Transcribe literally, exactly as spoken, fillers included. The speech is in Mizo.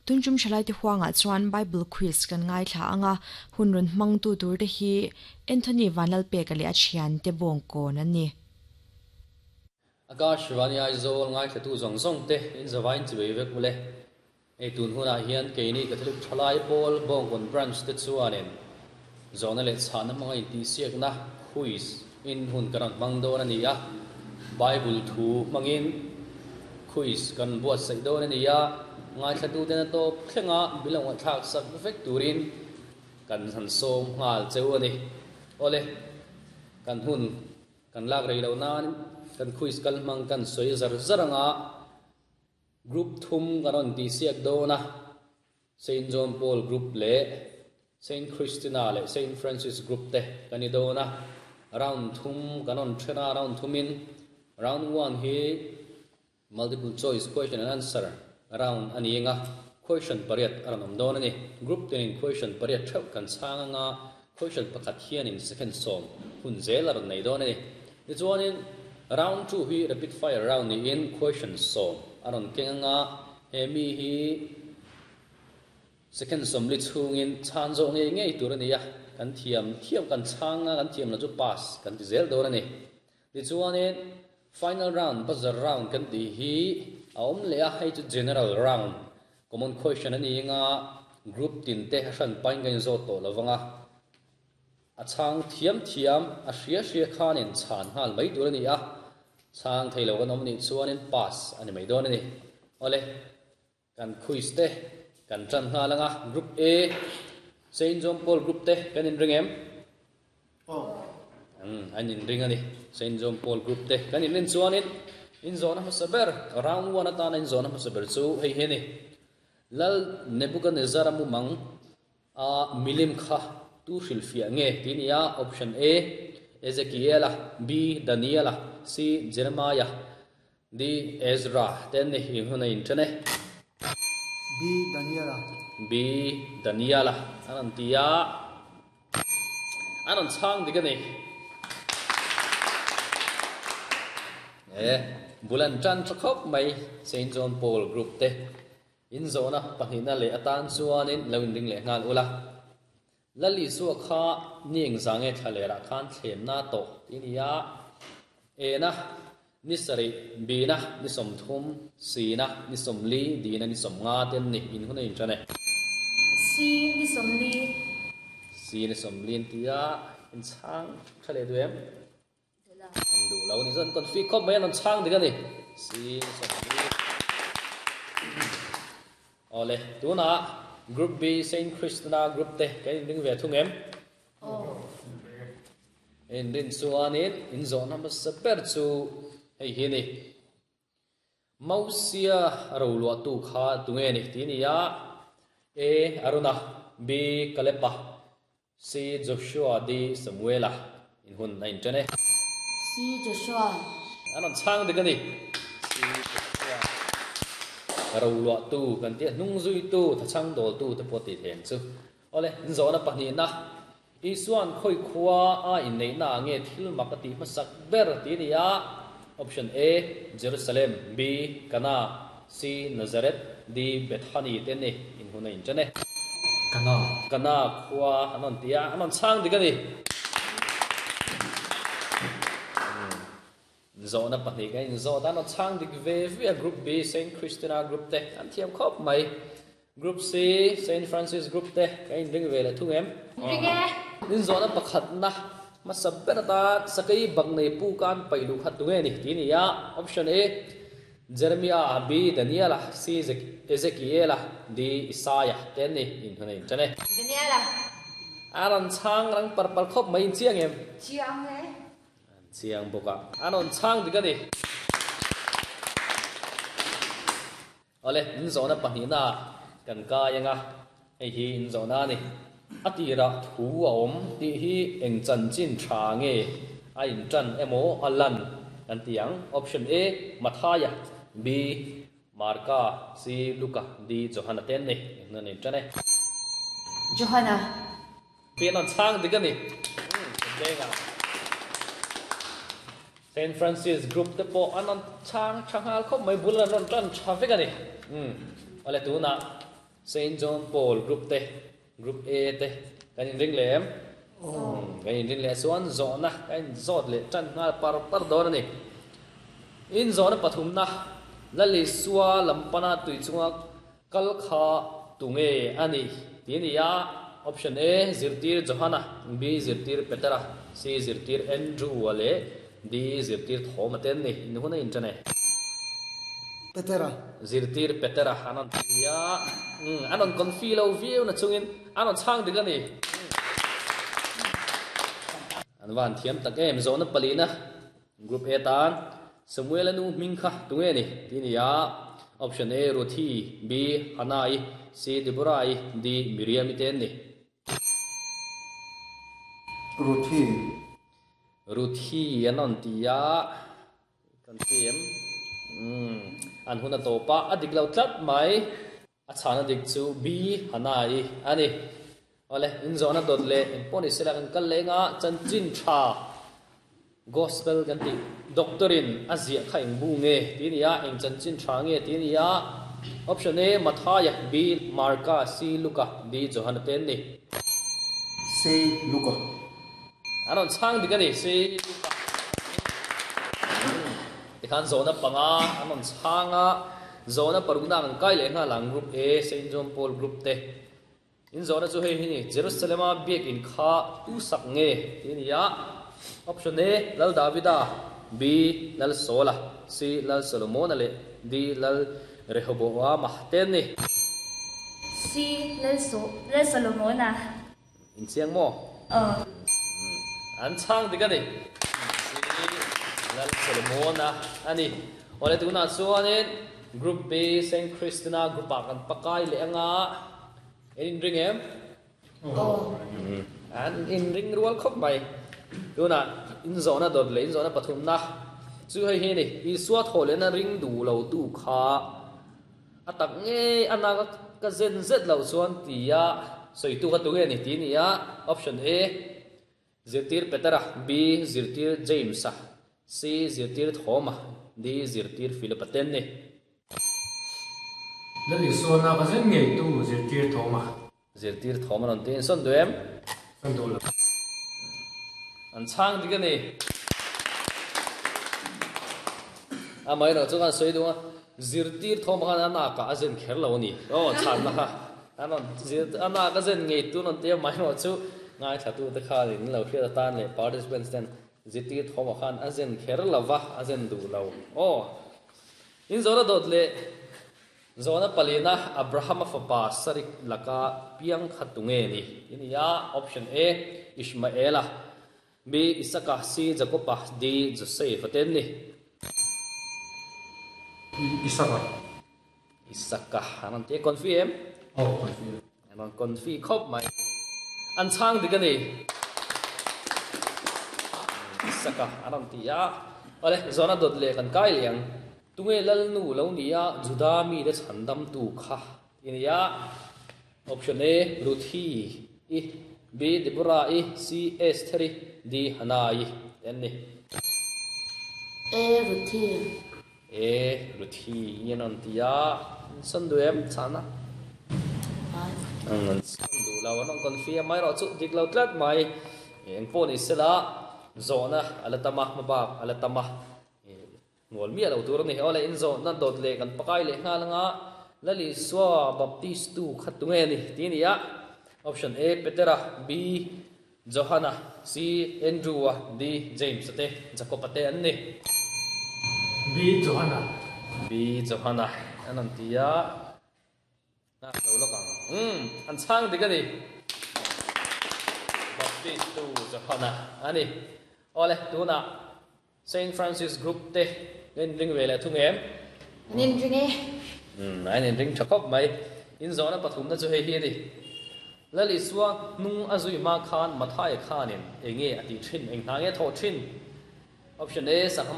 Tunchum thalai te huanga chuan Bible quiz kan ngai thla anga hunrun hmang tu tur te hi Anthony Vanlal pek ale a thian te bawng kawn an ni. Akashvani Aizawl ngai thlatu zawng zawng te in zawain chibai vek ule ei tun huna hian keini Catholic Thalai Pawl Bawngkawn Branch te chuanin zawhna leh chhana hmanga intihsiakna quiz in hun kan rawn hmang dawn a ni a Bible thu hmangin quiz kan buatsaih dawn a ni a ngai thlatu te na tawp thlenga bilawng thlak sak vek turin kan han sawm nghal cheu a ni ole kan hun kan lak rei lo nan kan quiz kal hmang kan sawi zar zar anga group thum kan rawn tihsiak dawn a Saint John Paul group leh Saint Christina leh Saint Francis group te kan ni dawn a round thum kan rawn thena round thumin round one hi multiple choice question and answer round ani anga question pariat a rawn awm dawn ani group tenin question pariat theuh kan chhang anga question pakhat hianin second sawm hun zel a rawn nei dawn ani tichuanin round two hi rapid fire round niin question sawm a rawn keng anga he mi hi second sawmli chhungin chhan zawh ngei ngei tur ani a kan thiam thiam kan chhanga kan thiam la chu pass kan ti zel dawn ani tichuanin final round buzzer round kan ti hi a awm leh a hei chu general round common question ani anga group tin te hran pain kan zawt tawh lovanga a chhang thiam thiam a hria hria khanin chhan nghal mai tur ani a chhang theilo kan awm ni chuanin pass ani mai dawn ani ole kan quiz te kan tran nghal anga group A Saint John Paul group te kan in ring em Oh. um an in ring ani Saint John Paul group te kan in rin chuanin in zawna hmasa ber round one atana in zawna hmasa ber chu hei hi ni lal Nebuchadnezzar mu mang a milim kha tu hril fia nge ti nia option A Ezekiela B Daniela C Jeremiah D Ezra ten ni in huna in thane B. Daniela. B Daniela anan tia anan chhang dik ani e bulan tran thakhop mai Saint John Paul group te in zona pahnihna leh atan chuanin lo in ring leh nghal ula lali suwa kha nieng zange thlalera khan thlem na to tinia e na ni sari b na ni som thum c na ni som li d na ni som nga ten ni in hun in chane C ni som li c ni som lin tia in chang thale du em an du lo ni zon kon fi khop mai an chang dik ani c ni som li ole tuna group B Saint Christina group te kan in ring ve thung em in rin chuanin in zawhna hmasa ber chu hei hi ni Mausia ro luah tu kha tunge ni ti ni a A Aruna B Kalepa C Joshua D Samuela in hun na in tane C Joshua anon chang dik ani C Joshua ro luah tu kan ti hnung zui tu tha chang dol tu te pawh ti then chu ole in zawhna pahnih na Isuan khoi khuwa a in nei na nge thil mak ati hmasak ber ti ni a option A Jerusalem B Kana C Nazareth D Bethany te ni in huna in chane Kana. Kana khuwa anon tia anon chang dik ani zawhna pahnih ka in zawh tan chang dik ve ve a group B Saint Christina group te an thiam khawp mai group C Saint Francis group te ka in ring ve le thung em ring e in zawhna pakhat na hmasa ber ata sakai bang nei pu kan pailu khat tunge ni ti ni a option A Jeremiah B Daniela C Ezekiela D Isaiah ten ni in huna in chane Daniela aron chang rang par par khawp mai in chiang em chiang e chiang boka anon chang dik ani ole in zawhna pahnih na kan kai anga hei hi in zawhna ni atira thu a awm ti hi eng chan chin tha nge a in tan emaw a lan kan tiang option A Mathaya B Marka C Luka D Johana ten ni nan in tane Johanna pi non chang dik ani denga Saint Francis group te pawh an an chang tha nghal khawp mai bul an rawn tan tha vek ani um ole tuna Saint John Paul Group te Group A te kan in ring lem kan in ring le chuan zawhna kan in zawt leh tan nghal par par dawn ani in zawhna pathum na Lal Isua lampana tui chunga kal kha tunge ani ti ni a option A zirtir Johana B zirtir Petera C zirtir Andrew ale D zirtir Thoma ten ni in huna in tane Petera zirtir Petera anon tia anon confi lo view na chungin anon chang ding ani an van thiam tak em zona palina group A tan Samuel anu ming kha tunge ni ti ni a option A Ruthi B Hanai C Deborah D Miriam ten ni Ruthi Ruthi anon tia kan tiem um an huna topa adik lo tlat mai a chana dik chu B Hanai ani ole in zona dot le in poni sela kan kal lenga chan chin tha gospel kan ti doctorin azia kha ing bu nge ti nia eng chan chin tha nge ti nia option A Mathaya B Marka C Luka D Johan ten ni C Luka anon chang dik ani C Luka ti khan zona panga anon changa zona paruna kan kai le nga lang group A Saint John Paul group te in zona chu hei hi ni Jerusalema biak in kha tu sak nge ti nia option A Lal Davida B Lal Sola C Lal Solomon ale D Lal Rehoboam ten ni C Lal So Lal Solomon a in chiang mo ờ an chang dik ani C Lal Solomon a ani ole tuna chuanin group B Saint Christina group a kan pakai le anga in ring em oh an in ring rual khop mai tuna in zona dot le in zona pathum na chu hei hi ni Isua thole na ring du lo tu kha atak nge ana ka zen zet lo chuan tia soi tu ka tu nge ni ti ni a option A zirtir Petera B zirtir James a C zirtir Thoma D zirtir Philip ten ni Lal Isua na ka zen ngei tu zirtir Thoma zirtir Thoma non tin son duem son du lo an chang dik ani a mai ro chuan soi du zirtir Thoma khan ana ka azen kher lo ni o chan na kha anon zir ana ka zen ngei tu non te mai ro chu ngai thatu te kha in lo hria tan le participants ten zirtir Thoma khan azen kher lova azen du lo o in zora dot le zona palina Abraham fa sarik laka piang khatunge ni inia option A Ishmaela B Isaka C Jacoba D Joseph ten ni Isaka Isaka anan te confirm oh confirm anan confi khop mai an chang dik ani Isaka anan ti ya ole zona dot le kan kai liang tunge lal nu lo nia Juda mi le chandam tu kha inia option A Ruthi I B Deborah I C Esther D Hanai ten ni A Ruthi A Ruthi yenon tia san duem chana ang san du lo anong confirm mai ro chu dik lo tlat mai eng pon isela zona alatama mabak alatama ngol mi lo tur ni ole in zo na dot le kan pakai le nga langa Lal Isua baptist tu khatunge ni ti ni a option A Petera B Johana C Andrew D James te Jacob te an ni B Johana B Johana anan tia na lo lo kang um an chang dik ani baptist tu Johana ani ole tuna Saint Francis Group te nên ring về là thu em nên ring e um ai nên ring thakop mai in zona pathum na chu hei hi ni Lal Isua nung azui ma khan Mathai khanin enge ati thin eng hna nge tho thin option A sang